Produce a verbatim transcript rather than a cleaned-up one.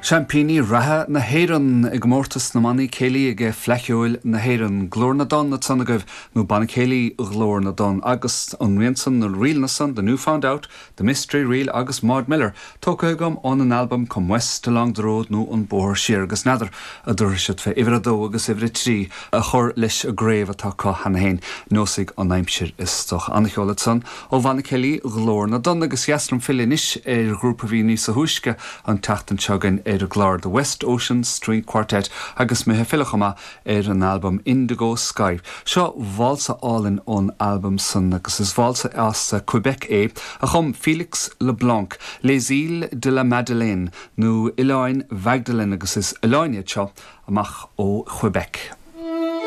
Seaimpíní reatha na hÉireann i gcomórtas na mbannaí céilí ag Fleadh Cheoil na hÉireann Glór na dTonn ansan agaibh nó Banna Céilí Ghlór na dTonn agus an rian san na ríleanna san The New Found Out, The Mystery Reel agus Maud Miller tógtha agam ón an albam Come West Along the Road nó an Bóthar Siar agus n'fheadar an dtabharfaidh siad fé uimhir a dó agus uimhir a trí a chur leis an gcraobh atá acu cheana féin neosfaidh an aimsir is dócha an-cheol ansan ó Bhanna Céilí Ghlór na dTonn agus dheas liom filleadh anois ar ghrúpa a bhí níos túisce an tseachtain seo againn ar an gclár The West Ocean String Quartet agus mé ag filleadh chomh maith ar an albam Indigo Sky. Seo válsa álainn ón albam san agus is válsa as Quebec é a chum Felix LeBlanc, Les Îles de la Madeleine nó Oileáin Mhagdalene agus is oileáin iad seo amach ó Quebec.